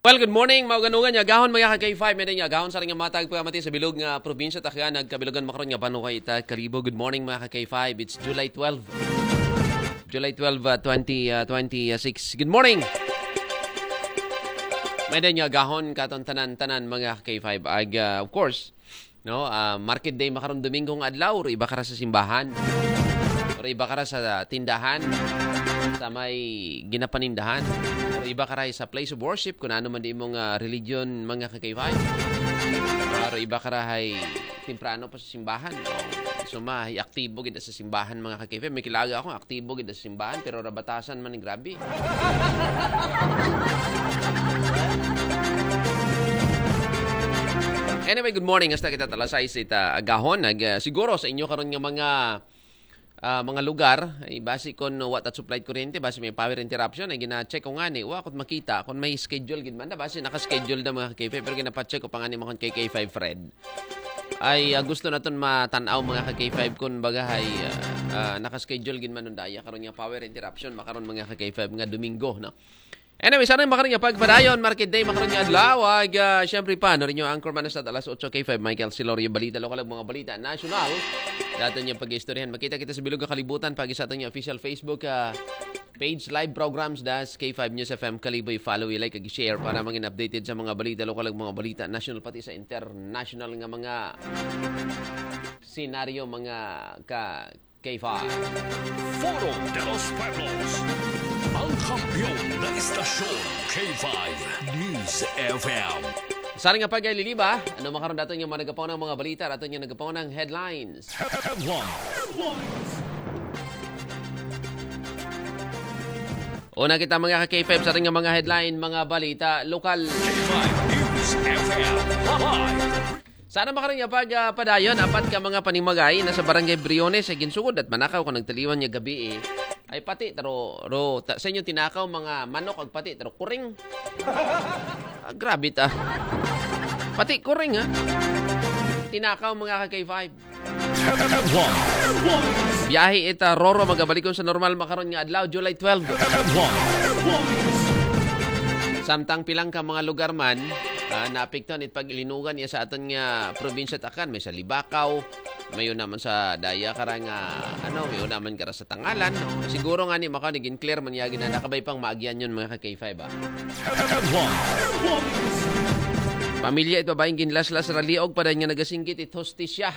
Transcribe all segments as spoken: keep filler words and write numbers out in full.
Well, good morning, mauganugan nga agahon, mga ka-K five. May nga agahon sa ring matag pamati sa bilog nga probinsya, takya nagkabilugan makaron nga banwa ita Kalibo. Good morning, mga ka-K five. It's July twelve. July twelve, uh, twenty, uh, twenty-six. Good morning. May nga agahon katon tanan-tanan, mga ka-K five. Ag, uh, of course, no, ah, market day makaron Domingo nga adlaw, ro iba kara sa simbahan, ro iba kara sa tindahan, sa may ginapanindahan, ro iba kara sa place of worship, kung ano man di mong, ah, religion, mga ka-K five. Ah, ro iba kara hay temprano pa sa simbahan, no? So, may aktibo gid sa simbahan, mga ka-K five. May kilaga ako, aktibo gid sa simbahan, pero ra batasan man, grabe. Anyway, good morning. Hasta kita talasay sa ita agahon. Nag, ah, siguro sa inyo karon nga mga, ah, mga lugar, ay basi kon wa ta supply kuryente, basi may power interruption, ay gina-check ko nga ni, wa ko makita kon may schedule gid man da, basi naka-schedule da, mga ka-K five, pero ginapacheck ko pa nga ni makon kay K five Fred. Ay, ah, gusto naton matan-aw, mga ka-K five, kun baga hay, ah, ah, naka-schedule gid man nun daya karon nga power interruption makaron, mga ka-K five, nga Domingo, no? Anyway, sana makaron nga pagpadayon, market day makaron nga adlaw. Ag, ah, syempre pa, no, rin yung anchor man sa alas otso, K five, Michael Silorio, balita lokal, ag mga balita nasyonal. Daton yung pag-istoryahan. Makita kita sa bilog nga kalibutan, pag sa aton yung official Facebook, ah, page, live programs, das K five News F M Kalibo, i-follow, i-like, ag i-share para mangin updated sa mga balita lokal, ag mga balita nasyonal, pati sa international nga mga senaryo, mga ka K five. Foro de los Pueblos, ang kampiyon na istasyon, K five News F M. Sa ring nga pagkaililiba, ano makaron daton yung mga nagapaw ng mga balita, daton yung nagapaw ng headlines. Headlines. Una kita, mga ka-K five, sa ring nga mga headline, mga balita lokal. K five News F M. Live. Sana makaron nga pag, ah, padayon, apat ka mga panimagay na sa Barangay Briones ay ginsugod at manakaw kung nagtaliwan niya gabi, eh. Ay pati, taro, ro, ta, sa inyo tinakaw mga manok, ag pati, taro, kuring. Ah, grabe ta. Pati kuring, ha? Tinakaw, mga ka-K five. Biyahe ita, Roro, magabalikon sa normal makaron nga adlaw, July twelve. Samtang pilang ka mga lugar man, ah, naapektuhan it pag-ilinugan niya sa aton nga probinsya takan, may sa Libacao, may naman sa daya kara nga, ano, may naman kara sa Tangalan, no? Siguro nga ni maka naging clear man yagi na nakabay pang maagyan yun, mga ka-K five, ah. Pamilya it babaeng ginlaslas ra liog pa dayon nga nagasinggit it hostisya.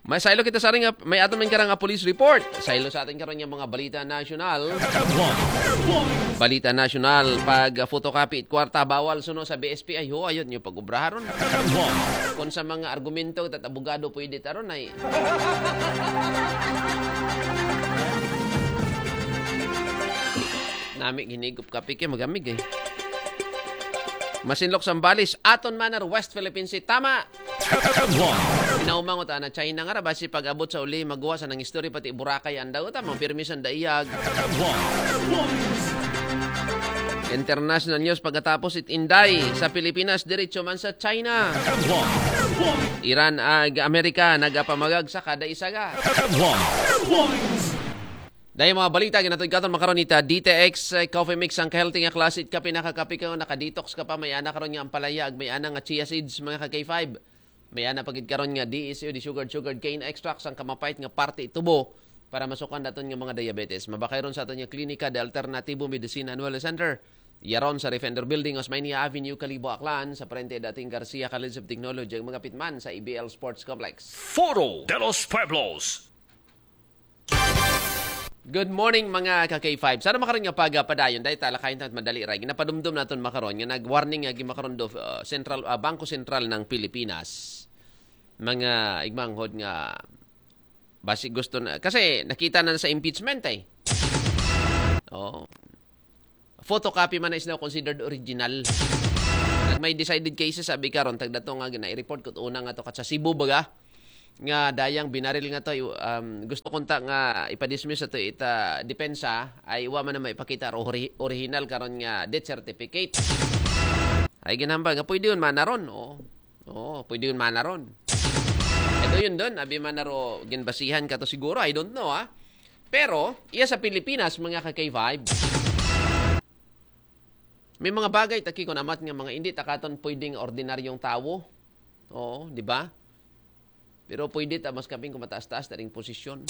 May saylo kita sa ring, may aton man karang police report. Saylo sa atin karon nga mga balita nasyonal. Balita nasyonal, pag photocopy it kwarta bawal suno sa B S P. Ay ho, ayun yung pag-ubraharon. Kung sa mga argumento, tat abogado pwede taron ay. Nami ginigop kape kay magamig, eh. Masinlok Sambales, aton man ar West Philippine Sea. Tama. Pinaumangot ana China nga ra, basi pag-abot sa uli, maguwa sa nang istorya, pati Boracay, andaw ta, mga pirmi sa daiyag. International news, pagkatapos it Inday sa Pilipinas, diretso man sa China. Iran ag Amerika, nagapamagag sa kada isaga. Dahil mga balita, ginatod katon makaron ita, D T X, eh, Coffee Mix, ang healthy nga klase, it kape, nakakape ka, naka-detox ka pa, may ana karon nga ampalaya, ag may ana nga chia seeds, mga ka-K five. May ana pagid karon nga D S U, di sugar, sugar cane extracts, ang kamapait nga parte tubo para masukan daton nga mga diabetes. Mabakay ron sa aton nga klinika de Alternatibo Medicine and Wellness Center. Yaron sa Defender Building, Osmania Avenue, Kalibo, Aklan, sa parente dating Garcia College of Technology, ang mga pitman sa A B L Sports Complex. Foro de los Pueblos. Good morning, mga ka-K five. Sana makaron nga pagpadayon, dahil talakayin ta't madali ra. Ginapadumdum naton makaron nga nag-warning nga gimakaron do, uh, Central, uh, Bangko Sentral ng Pilipinas. Mga igmanghod nga basi gusto na, kasi nakita na sa impeachment, eh. Oh. Photocopy man na is now considered original. Nag may decided cases, sabi karon, tagdato nga gina-report ko una nga to kat sa Cebu baga, nga dayang binaril nga to, um, gusto kunta nga ipadismiss ato ita depensa, ay wa man na maipakita ro ori-, original karon nga death certificate. Ay ginhambal nga pwede yun manaron, oh. Oo, pwede yun manaron. Ito yun doon, abi man na ro ginbasihan ka to siguro, I don't know, ah. Pero, iya sa Pilipinas, mga ka-K five, may mga bagay, taki ko namat nga mga hindi ta katon pwedeng ordinaryong tawo. Oo, di ba? Pero pwede ta mas kaping kumataas-taas na ring posisyon.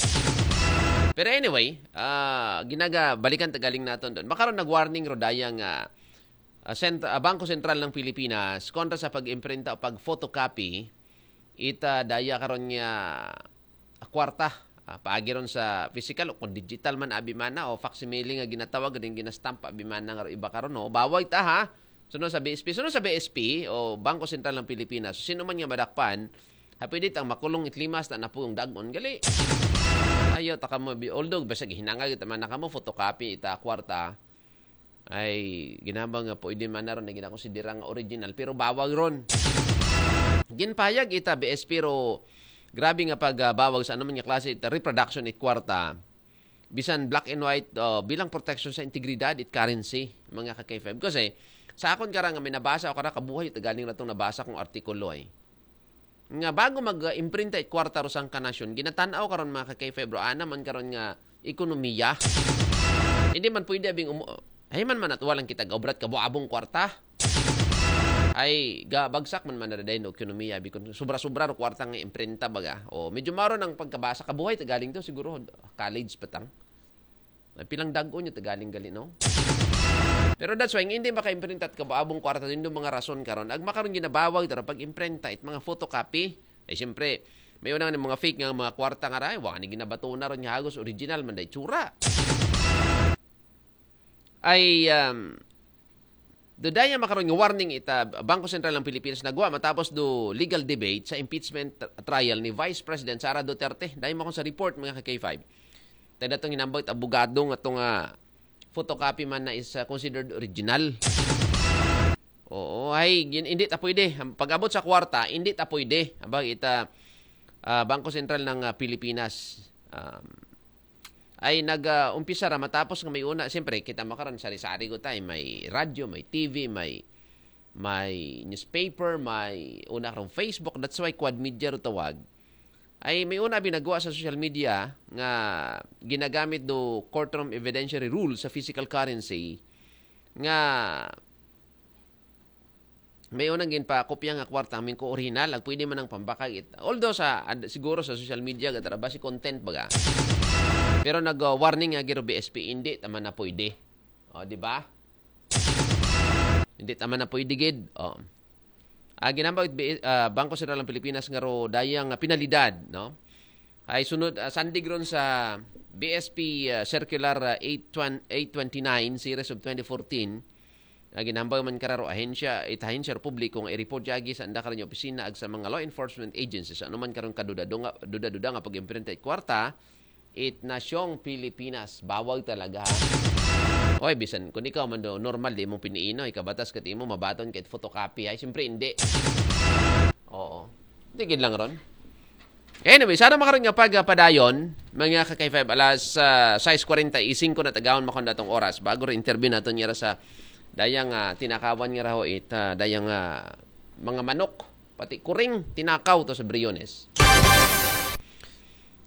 Pero anyway, ah, ginaga, balikan ta galing naton doon. Makaron nag-warning ro daya nga ah, sent-, ah, Bangko Sentral ng Pilipinas kontra sa pag-imprinta o pag-photocopy, ita daya karon nga kwarta. Ah, paagi ron sa physical o kung digital man abi mana o facsimile nga ginatawag din ginastamp abi mana nga iba karon, no? Bawal ta, ha. Sunod sa B S P, sunod sa B S P o Bangko Sentral ng Pilipinas, sino man nga madakpan, ha, pwede tang makulong itlimas na napuyong dagon gali. Ayaw ta kamo bi, although basag hinanga kita man na kamo photocopy ita kwarta. Ay, ginaba nga pwede man na ron na ginakonsidera nga original, pero bawal ron. Ginpayag ita B S P ro, grabe nga pagbawal sa anuman nga klase ita reproduction it kwarta. Bisan black and white, uh, bilang protection sa integridad it currency, mga ka-K five. Kasi, sa akon kara nga may nabasa o kara kabuhay, ita galing na tong nabasa kong artikulo ay. Nga bago mag-imprinta it kwarta ro sang kanasyon, ginatanaw karon mga ka-K five ro, ana man karon nga ekonomiya. Hindi man pwede abing umu-, ay man man at walang kita gaubrat kabuabong kwarta. Ay, ga, bagsak man man na rin no ekonomiya, bikon sobra-sobra ro kwarta nga imprinta baga. O, medyo maro ng pagkabasa, kabuhay ta galing to, siguro college pa tang. Ay, pilang dagon yung ta galing gali, no? Pero that's why, hindi maka-imprinta at kabuabong kwarta, yun yung mga rason karon. Ag makaron ginabawal dara pag-imprinta it mga photocopy. Ay, siyempre, may unang mga fake nga mga kwarta nga ray, wala ni ginabato na ron nga hagos original man day tsura. Ay, um, do daya makaron nga warning ita Bangko Sentral ng Pilipinas nagwa matapos do legal debate sa impeachment tr-, trial ni Vice President Sara Duterte. Dahil mo sa report, mga ka-K five. Tayo na itong hinambag abogado nga itong ah, photocopy man na is ah, considered original. Oo, ay, gin-, hindi ta pwede. Ang pag-abot sa kwarta, hindi ta pwede. Abang ita ah, Bangko Sentral ng ah, Pilipinas. Um, ay nag-umpisa ra matapos nga may una, siyempre, kita makaron sari-sari ko tayo, may radyo, may T V, may may newspaper, may una karong Facebook, that's why quad media ro tawag. Ay may una binagwa sa social media nga ginagamit do courtroom evidentiary rule sa physical currency nga may unang ginpakopya nga kwarta, amin ko original, ag pwede man ang pambakag it. Although sa, ad-, siguro sa social media, gatara ba si content baga. Pero nag-warning nga giro B S P, hindi, tama na pwede. O, di ba? Hindi, tama na pwede gid. O. Ah, ginambag it B-, ah, Bangko Sentral ng Pilipinas nga ro dayang ah, penalidad, no? Ay sunod, ah, sandig ron sa B S P ah, Circular ah, eight twenty, eight twenty-nine, Series of twenty fourteen, nga ginambag man kararo ahensya, it ahensya ro publiko nga i-report yagi sa anda karang opisina ag sa mga law enforcement agencies. Ano man karon kaduda-duda nga, duda-duda nga pag-imprinta it kwarta, it nasyong Pilipinas. Bawal talaga, ha? Oy, bisan kung ikaw man do, normal, di mong piniino, ikabatas kat imo, mabaton kahit photocopy. Ay, siyempre, hindi. Oo. Tigil lang ron. Anyway, sana makaroon nga pagpadayon, mga ka-K five, alas ah, sais kwarenta y singko na tagaon makon datong oras. Bago rin interview naton nga ra sa dayang ah, tinakawan nga raho it, ah, dayang ah, mga manok, pati kuring, tinakaw to sa Briones.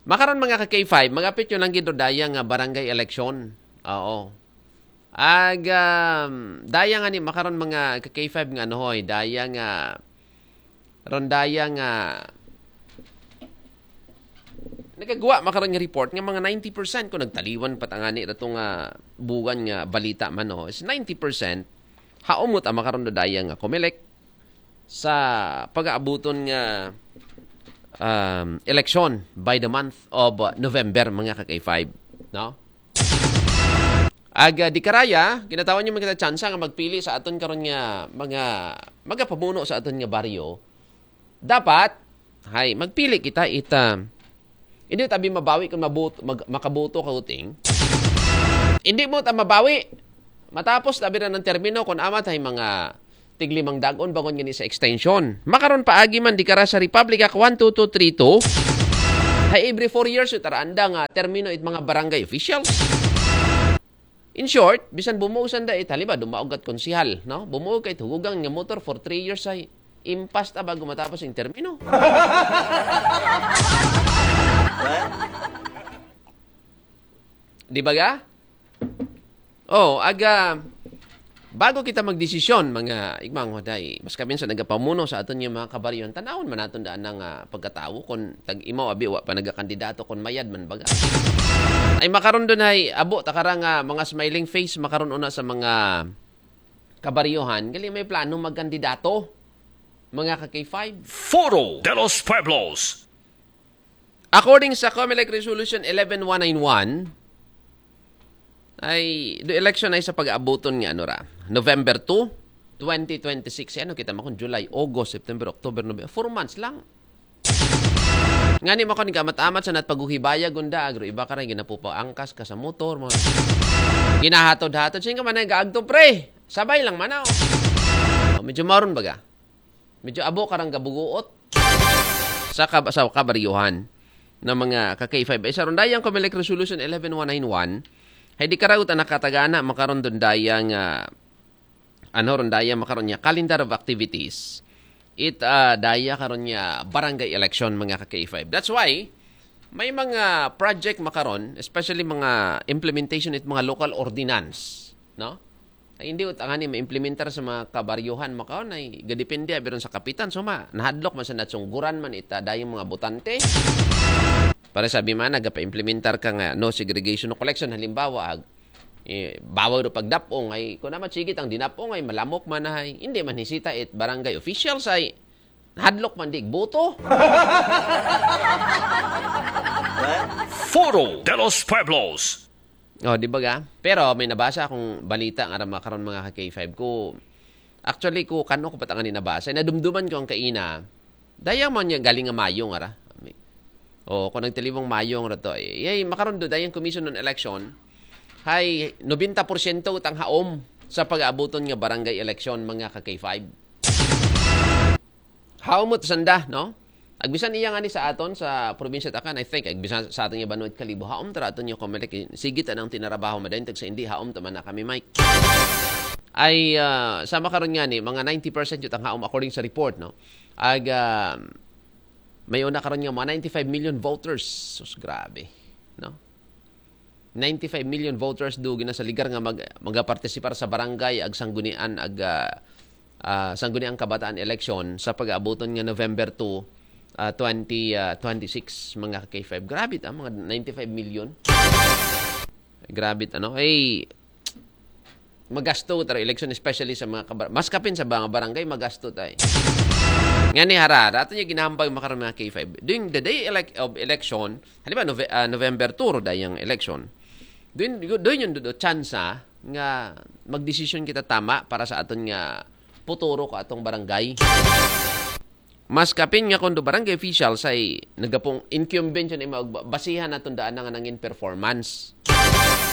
Makaron mga ka-K five, magapit yun lang gid ro dayang ah, barangay election. Oo. Ag, um, daya nga ni, makaron mga ka-K five nga ano hoy, daya nga, ron daya nga, nagagawa makaron nga report nga mga ninety percent kung nagtaliwan pa tangani rato nga buwan nga balita man, no, is ninety percent haumot ang makaron do daya nga Comelec sa pag-aabuton nga um, election by the month of uh, November, mga ka-K five, no? Ag ah, di karaya, ginatawan niyo man kita tsansa nga magpili sa aton karon nga mga magapamuno sa aton nga baryo. Dapat, hay, magpili kita ita. Hindi tabi mabawi kung mabut, mag, makaboto ka uting. Hindi mo ta mabawi. Matapos tabi na ng termino kung amat ay mga tiglimang dagon bangon gani sa extension. Makaron paagi man di kara sa Republic Act one two two three two. Hay every four years, ito ra anda nga termino it mga barangay officials. In short, bisan bumuog sanda it, halimbawa, dumaog at konsihal, no? Bumuog kay hugugang nga motor for three years ay impas ta bago matapos ang termino. Di ba ga? Oh, aga, bago kita magdesisyon, mga igmang hoday, mas kami sa nagapamuno sa aton nga mga kabaryohan, tanawon man naton daan nga pagkatawo kung tag-imaw abi wa pa nagakandidato, kung mayad man baga. Ay makaron dun ay abo takara nga mga smiling face makaron una sa mga kabaryohan, gali may plano magkandidato, mga ka K five. Foro de los Pueblos. According sa Comelec Resolution eleven one nine one, ay, the election ay sa pag-aabuton nga ano ra, November two, twenty twenty-six. Ano kita makon July, August, September, October, November. Four months lang. Ngani makon ka matamat sa nat pagguhibaya gunda agro iba ka rin ginapupa angkas ka sa motor mo. Ginahatod-hatod. Sino ka man ay gaagto, pre? Sabay lang man ako. Oh, medyo maron baga. Medyo abo karang gabuguot sa, kab- sa kabaryohan ng mga ka K five. Ay sa rundayang Comelec Resolution eleven one nine one, hay di karagot ang nakatagana makaron dundayang ah, ano rundayang makaron niya calendar of activities. It ah, daya karon niya barangay election, mga ka K five. That's why may mga project makaron, especially mga implementation it mga local ordinance, no? Ay, hindi ut angani maimplementar sa mga kabaryohan makaon ay gadepende abi ron sa kapitan. So ma, nahadlok man sa natsungguran man ita dayong mga botante. Para sabi man nagapa-implementar ka nga no segregation, no collection, halimbawa ag eh, bawal do pagdapong ay kung naman sigit ang dinapong ay malamok man ay hindi man hisita it barangay officials ay nahadlok man di boto. Foro de los Pueblos. Oh, di ba ga? Pero may nabasa akong balita nga ra makaron, mga ka K five ko. Actually ko kano ko patang ni nabasa. Nadumduman ko ang kaina. Dayang man niya galing nga Mayo nga ra. Oh, kung nagtaliwang Mayo nga ra to. Eh, yay, makaron do dayang Commission on Election. Hay, nobenta porsyento utang haom sa pag-aabuton nga barangay election, mga ka K five. Haom mo to sanda, no? Agbisan iya nga ni sa aton sa probinsya takan, I think, agbisan sa aton nga banwit kalibo, haom ta ra aton nga Comelec, sige ta nang tinarabaho madayon tag sa hindi, haom ta man na kami, Mike. Ay ah, sama karon nga ni mga ninety percent yutang haom according sa report, no? Ag ah, may una karon nga mga ninety-five million voters. Sus, grabe, no? Ninety-five million voters do ginasaligar nga mag magapartisipar sa barangay ag sanggunian ag ah, ah, sangguniang kabataan election sa pag-aabuton nga November two, ah, twenty, ah, twenty-six, mga K five. Grabe ta, mga ninety-five million. Grabe ta, no? Ay, magasto taro election, especially sa mga kabar- mas kapin sa mga barangay, magasto tay. Nga ni harara ato niya ginambag makaroon, mga K five, during the day elec- of election. Halimbawa Nove- ah, November two ro dayang election. Doon doon yung do tsansa nga magdesisyon kita tama para sa aton nga puturo ko atong barangay. Mas kapin nga kundo barangay official say nagapong incumbent yun, ima basihan naton daan nga nangin performance.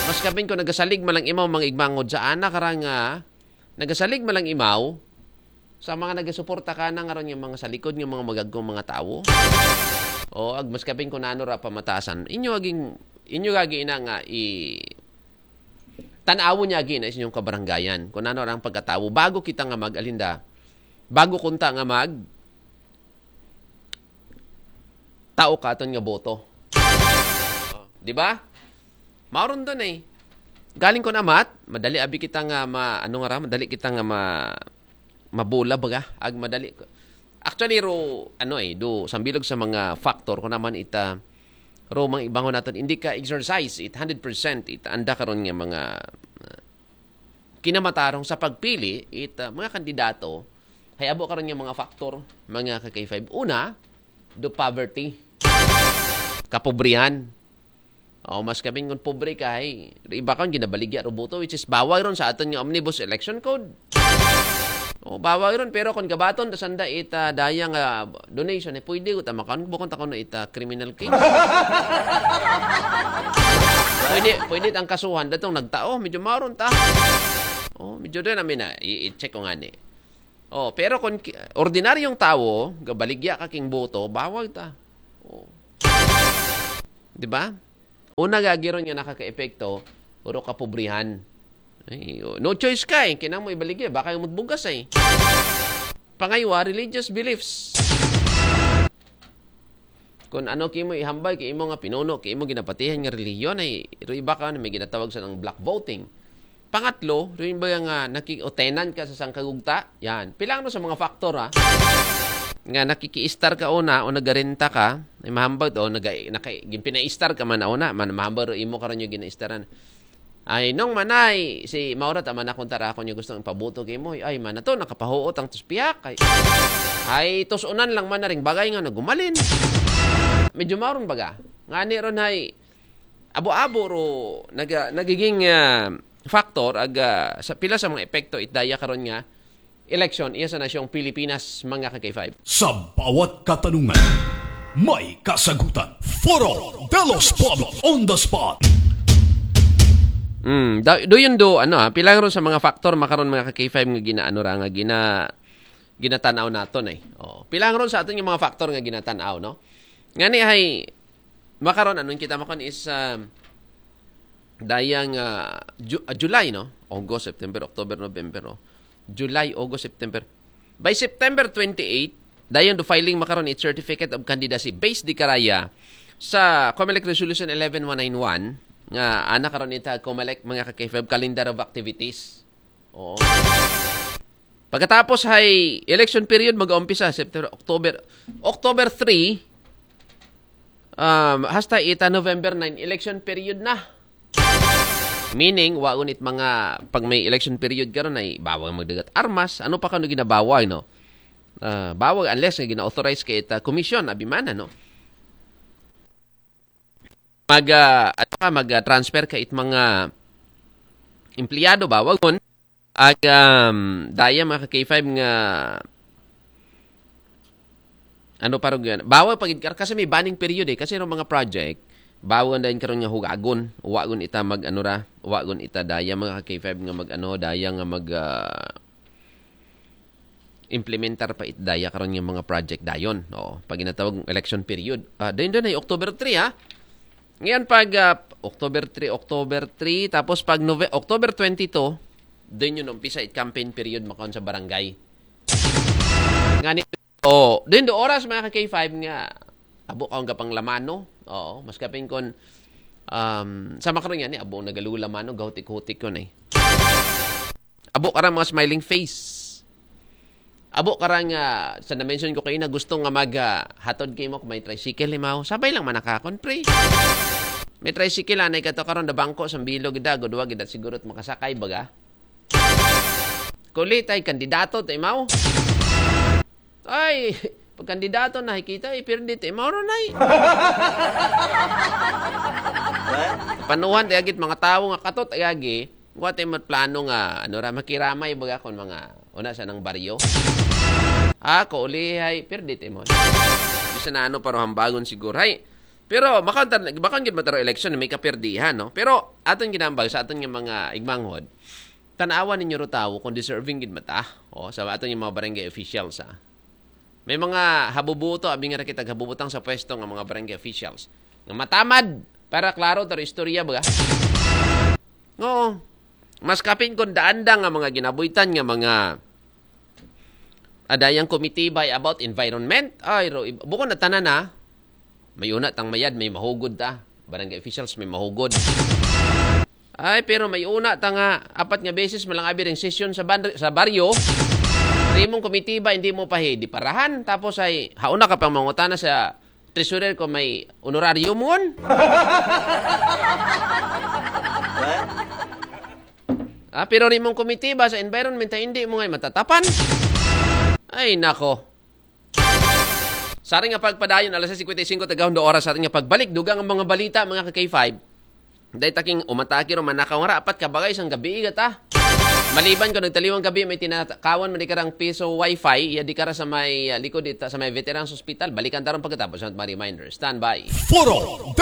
Mas kapin ko nagasalig malang imaw mga igmangod sa ana karang nga nagasalig malang imaw sa mga nagasuporta ka na nga ron yung mga sa likod ng mga magagkong mga tawo. O ag mas kapin ko nano ra pamatasan inyo aging inyo gagi ina nga i tanawo niya agi na sa inyong kabaranggayan kung ano ang pagkatawo bago kita nga mag-alinda, bago kunta nga mag tao katon nga boto. Di ba? Mauron doon eh. Galing ko na mat, madali abi kita nga ma, ano nga ra, madali kita nga ma, mabula baga, ag madali. Actually ro, ano eh, do sambilog sa mga factor ko naman ita ro mga ibangon natin, hindi ka exercise it hundred percent it anda karon nga mga uh, kinamatarong sa pagpili it uh, mga kandidato, hay abo karon nga mga factor, mga ka K five. Una, do poverty, kapobrihan. O mas kaming ngon pobre ka, hay iba kon ginabaligya ro boto, which is bawal ron sa aton nga omnibus election code. O bawal ron, pero kon gabaton ta sanda ita daya nga donation, eh, pwede ko ta makaon bukon ta kuno ita criminal case. Pwede pwede tang kasuhan datong nagtao, medyo maron ta. O medyo din namin na i-check ko nga ni. O pero kon ki- ordinaryong tawo gabaligya ka king boto, bawal ta. O. Di ba? Una gagiron nga nakakaepekto, puro kapobrihan. Ay, o, no choice ka eh. Kinang mo ibaligya, baka yung mutbugas eh. Pangaywa, religious beliefs. Kung ano kimo ihambal kay imo nga pinuno, kay imo ginapatihan nga relihiyon, ay ro iba ka na may ginatawag sa ng block voting. Pangatlo, rin ba nga naki-, o tenant ka sa sangkagugta? Yan. Pilang no sa mga factor, ha? Nga nakikiistar ka una o nagarenta ka, ay mahambal to, naga, naka, ginpinaistar ka man na una, man mahambal ro imo karon yung ginaistaran. Ay, nung manay, si Maura, tama na kung tara ako niya gustong ipabuto kay mo. Ay, man na to, nakapahuot ang tuspiyak. Ay, ay, tusunan lang man na ring bagay nga nagumalin. Medyo mauron baga. Ngani ron ay, abo-abo ro, naga, nagiging ah, factor, ag, ah, sa pila sa mga epekto, itdaya karon nga, election, iya sa nasyong Pilipinas, mga ka-K five. Sa bawat katanungan, may kasagutan. Foro de los Pueblos on the spot. Mm, da, do yun do, ano ah, pilang ron sa mga factor makaron mga ka-K five nga ginaano ra, nga gina, ginatanaw naton eh. Oh, pilang ron sa aton yung mga factor nga ginatanaw, no? Ngani ay, makaron, anong kita makon is, um, dayang ah, Ju- ah, July, no? August, September, October, November, oh. July, August, September. By September twenty-eight, dayon do filing makaron it certificate of candidacy based di karaya sa COMELEC Resolution eleven one nine one nga ana karon ita COMELEC mga ka-K five calendar of activities. Oo. Pagkatapos hay election period mag-umpisa September, October, October three, um, hasta ita November nine, election period na. Meaning, wagon it mga, pag may election period karon ay bawal magdagat armas. Ano pa kano ginabawal, no? Ah, bawal unless nga gina-authorize ka ita commission, abimana, no? Mag, ah, ano ka, mag-transfer ka it mga empleyado, bawal yun. Ag, um, daya mga ka-K five nga, ano pa rin yan? Bawal pag, kasi may banning period eh. Kasi yung mga project, bawal na yun karon nga hugagon. Wagon ita mag, ano ra, wagon ita daya mga ka-K five nga mag, ano, daya nga mag, ah, implementar pa it daya karon nga mga project dayon. Oo, pag ginatawag election period. Ah, dayon, dayon ay October three, ha? Ngayon pag, ah, October three, October three, tapos pag Nove-, October twenty-two, dayon yun umpisa it campaign period makaon sa barangay. Ngani, oh, dayon do oras mga ka-K five nga, abo ka ang gapang lamano. Oo, mas kapin kon, um, sa makaron nga ni, abo nagalula mano, gahutik-hutik yun eh. Abo ka ra mga smiling face. Abo ka ra nga, sa na-mention ko kayo na gusto nga mag, ah, hatod kay mo kung may tricycle, limaw. Sabay lang manakakon, pre. May tricycle, anay ka to karon na bangko sa bilog, gida, gudwa, gida, siguro makasakay, baga. Kulit ay kandidato, timaw. Ay, pag kandidato na, hikita, eh, pero di, timaw ron ay. Panuhan, ti agit mga tao nga katot, ay agi. Wa tay mat plano nga, ano ra, makiramay baga kon mga, una sa nang baryo. Ah, ko ulihay, pirdit imon. Bisan na ano, pero hambagon siguro. Hay, pero, makan, makan gid mataro election, may kapirdihan, no? Pero, aton ginambag sa aton nga mga igmanghod, tanawan ninyo ro tawo kung deserving gid mata. O, sa aton nga mga barangay officials, ha. May mga habubuto, abi nga ra kita habubutang sa pwesto nga mga barangay officials. Nga matamad, para klaro, taro istorya, baga? Oo. Mas kapin kon daan da nga mga ginabuhitan nga mga adayang komitiba about environment. Ay, ro, bukon na tanan na. May una tang mayad, may mahugod ta. Barangay officials, may mahugod. Ay, pero may una ta nga apat nga beses malang abi ring sesyon sa ban-, sa baryo. Rimong komitiba, hindi mo pa hi-, di parahan. Tapos ay, hauna ka pang mangutana sa treasurer ko may honorario mo. Ah, pero rimong komitiba sa environment ay hindi mo ngay matatapan. Ay, nako. Sa ating nga pagpadayon, alas sais cincuenta y cinco, tagahon do oras sa ating nga pagbalik. Dugang ang mga balita, mga ka-K five. Dahil taking umatake ro, manakaw nga ra, apat ka bagay sang gabi, igata. Maliban ko, nagtaliwang gabi, may tinakawan, man di karang piso wifi, iya di kara sa may, ah, likod dita, sa may Veterans Hospital. Balikan taron pagkatapos ng mga reminder. Standby. Foro